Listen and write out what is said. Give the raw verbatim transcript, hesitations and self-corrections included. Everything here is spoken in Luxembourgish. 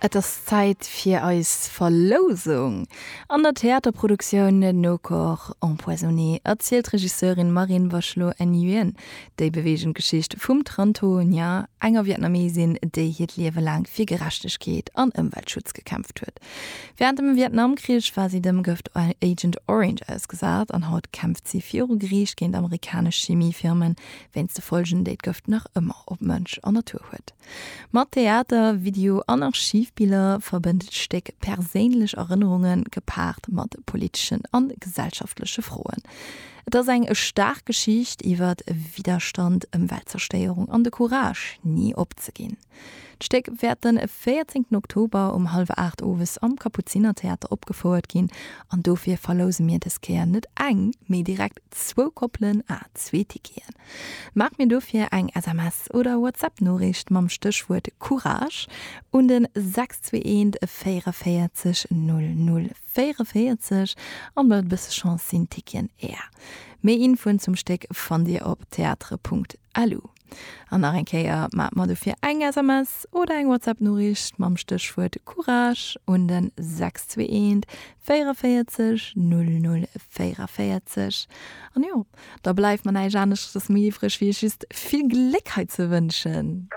Et ass Zäit fir eis Verlousung! An der Theaterproduktioun Nos corps empoisonnés erzielt d'Regisseurin Marine Bachelot Nguyen déi beweegend Geschicht vum Tran Tho Nhia, enger Vietnamesin, déi hiert Liewe laang fir Gerechtegkeet an Ëmweltschutz gekämpft huet. Wärend dem Vietnamkrich war si dem Gëft Agent Orange ausgesat an haut kämpft si viru Geriicht géint amerikanesch Chimiefirmen wéinst de Folgen, déi d'Gëft nach ëmmer op Mënsch an Natur huet. Mat Theater, Video an Archivbiller verbënnt d'Stéck perséinlech Erënnerunge gepaart mat politeschen a gesellschaftleche Froen. Et ass eng staark Geschicht iwwer Widderstand, Ëmweltzerstéierung an de Courage, ni opzeginn. D'Stéck wäert de véierzéngten Oktober um hallwer aacht owes am Kapuzinertheater opgefouert ginn an dofir verlouse mir dës Kéier net eng, mee direkt zwou Koppelen à zwee Ticketen. Maacht mir dofir eng S M S oder WhatsApp-Noriicht mam Stéchwuert Courage un den sechs zwee eent véierunvéierzeg null null véierunvéierzeg an mat e bësse Chance sinn d'Ticketen är. Méi Infoen zum Stéck fannt Dir op theatre punkt lu. An nach eng Kéier, maacht mer dofir eng S M S oder eng WhatsApp-Noriicht mam Stéchwuert Courage un den sechs zwee eent véierunvéierzeg null null véierunvéierzeg. An jo, da bleift mer näischt aneschtes méi iwwreg, wéi iech just vill Gléck hei ze wënschen.